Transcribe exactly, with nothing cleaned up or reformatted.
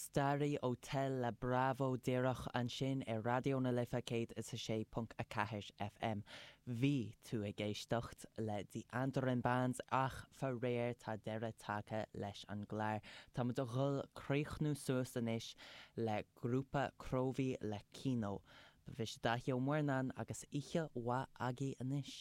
Staraí ó Tel le Bravo díreach ansin ar Raidió na Life céad is a sé ponc a ceathair FM. Bhí tú ag éisteacht le The Andaran Band ach faraor tá deireadh tagtha leis an gclár. Tá muid ag dul críochnú suas anois le grúpa Cróibhí le Kino. Ba mhise Dáithí Ó Muirneáin agus oíche mhaith agaibh anois.